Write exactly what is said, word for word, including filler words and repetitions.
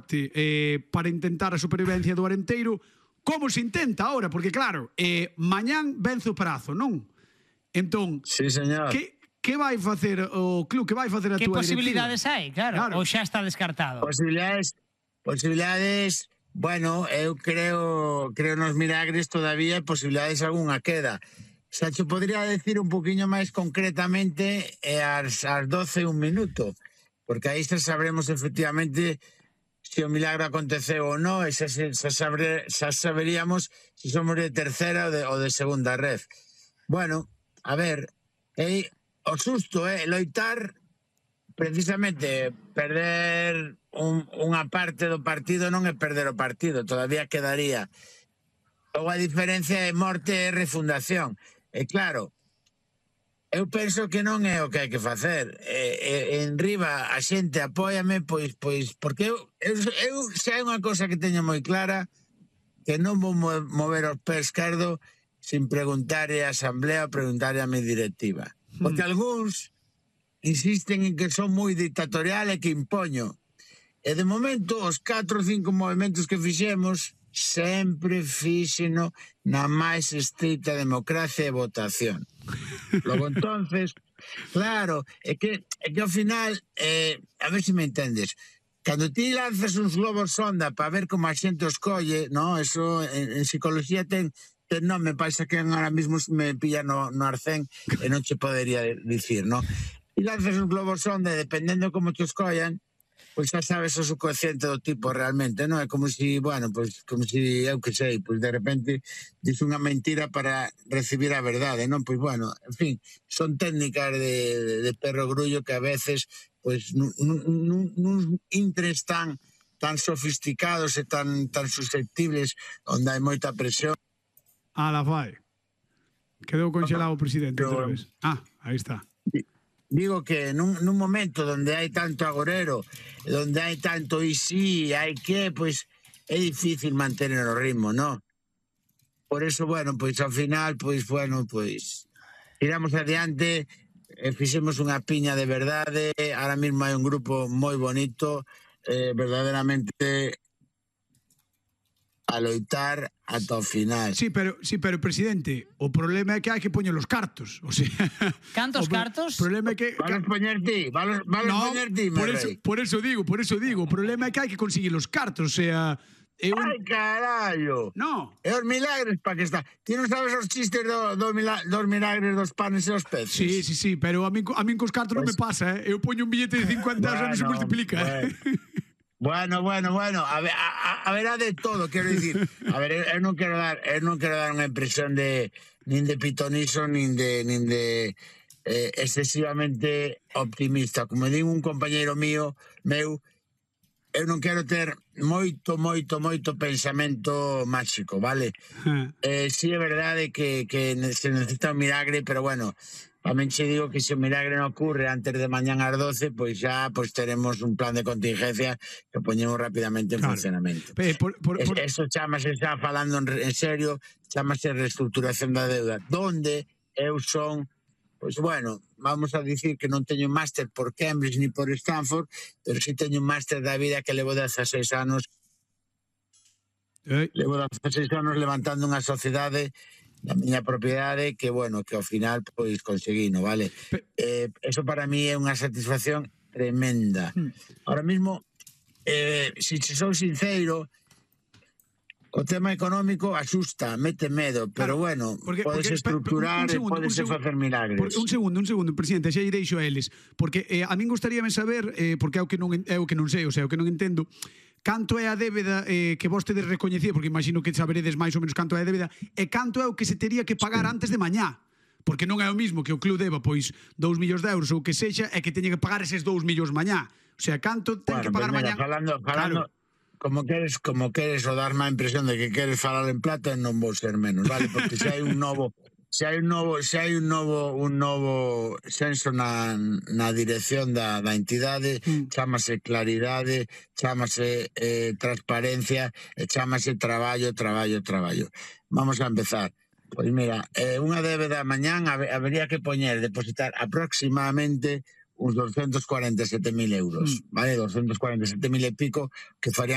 norte eh, para intentar a supervivencia do Arenteiro. Como se intenta ahora? Porque claro, eh, mañán vence o prazo, non? Entón, sí, señor. Que, que vai facer o club? Que vai facer a que túa posibilidades directiva? hai, claro, claro, ou xa está descartado? Posibilidades, posibilidades, bueno, eu creo, creo nos milagres todavía, posibilidades algunha queda. Xa te podría decir un poquinho máis concretamente eh, ás, ás doce un minuto, porque aí xa sabremos efectivamente se o milagre aconteceu ou non, e xa, xa, sabre, xa saberíamos se somos de tercera ou de, ou de segunda red. Bueno, a ver, eh, o susto é eh, loitar precisamente perder un, unha parte do partido non é perder o partido, todavía quedaría. Logo a diferencia é morte e refundación. E claro, eu penso que non é o que hai que facer. E, e, en riba a xente apóiame, pois, pois porque eu, eu, eu xa é unha cosa que teño moi clara, que non vou mover os pés esquerdo sin preguntarle a asamblea ou preguntarle a mi directiva. Porque mm. algúns insisten en que son moi dictatorial e que impoño. E de momento, os catro ou cinco movimentos que fixemos sempre fíxeno na máis estrita democracia e votación. Logo, entonces, claro, é que, é que ao final, eh, a ver se me entendes, cando ti lanzas uns globos sonda para ver como a xente os colle, no? Eso en, en psicología ten, ten nome, pasa que ahora mismo me pilla no, no arcén e non che podería dicir, no? E lanzas uns globos sonda e dependendo como te os collan, pois xa sabes o subconsciente do tipo realmente, non? É como si, bueno, pois como si, eu que sei, pois de repente dis unha mentira para recibir a verdade, non? Pois bueno, en fin, son técnicas de, de, de perro grullo que a veces, pois, nun, nun, nun intres tan tan sofisticados e tan tan susceptibles onde hai moita presión. Ah, la fai. Quedou congelado o presidente outra vez. Ah, aí está. Digo que nun, nun momento donde hai tanto agorero, donde hai tanto y sí, hai que, pois é difícil mantener o ritmo, ¿no? Por eso, bueno, pois ao final, pois, bueno, pois tiramos adiante, eh, fixemos unha piña de verdade, ahora mismo hai un grupo moi bonito, eh, verdadeiramente a loitar ata o final. Sí, pero, sí, pero presidente, o problema é que hai que poñer os cartos. O sea, cantos o cartos? O problema é que Valos poñer ti, valos, valos no, poñer ti, por eso, por eso digo, por eso digo, o problema é que hai que conseguir os cartos, o sea, é un... Ai, carallo. No. É os milagres para que está. Ti non sabes os chistes do, do mila, dos milagres dos panes e os peces? Sí, sí, sí, pero a min, a min cos cartos pues... non me pasa, eh? Eu poño un billete de cincuenta euros bueno, e non se multiplica. Bueno. Bueno, bueno, bueno, a ver, a, a ver, a de todo, quero dicir. A ver, eu non quero dar, eu non quero dar unha impresión de nin de pitoniso, nin de nin de eh, excesivamente optimista. Como digo un compañeiro mío, meu, eu non quero ter moito, moito, moito pensamento máxico, vale? Eh, si sí, é verdade que, que se necesita un milagre, pero bueno, tamén che digo que se o milagre non ocurre antes de mañán ás doce, pois xa pois teremos un plan de contingencia que poñemos rapidamente en claro. funcionamento. Eh, por, por, por... Eso chamase, xa falando en, en serio, chamase reestructuración da deuda, donde eu son, pois bueno, vamos a dicir que non teño máster por Cambridge ni por Stanford, pero si teño un máster da vida que levo dezaseis anos eh. levo dezaseis anos levantando unha sociedade na miña propiedade que, bueno, que ao final pois conseguino, vale? Eh, eso para mí é unha satisfacción tremenda. Ahora mismo, eh, si se sou sincero, o tema económico asusta, mete medo, pero claro, bueno, porque, podes porque, estructurar e podes facer milagres. Porque, un segundo, un segundo, presidente, xa lle deixo a eles, porque eh, a min gustaríame saber, eh, porque é o que non, é o que non sei, o sea, o que non entendo, canto é a débeda eh, que vos tedes recoñecido, porque imagino que saberedes máis ou menos canto é a débeda, e canto é o que se tería que pagar sí. antes de mañá. Porque non é o mismo que o club deba pois dous millóns de euros ou que sexa e que teña que pagar eses dous millóns mañá. O sea, canto ten bueno, que pagar mira, mañá. Falando, falando, claro. como queres, como queres o dar má impresión de que queres falar en plata, non vou ser menos, vale? Porque se hai un novo se hai un novo, se hai un novo un novo senso na, na dirección da, da entidade, mm. chámase claridade, chámase eh, transparencia, e chámase traballo, traballo, traballo. Vamos a empezar. Pois mira, eh, unha débeda mañán habería que poñer, depositar aproximadamente uns doscientos cuarenta e sete mil euros, mm. vale? doscientos cuarenta e sete mil e pico, que farían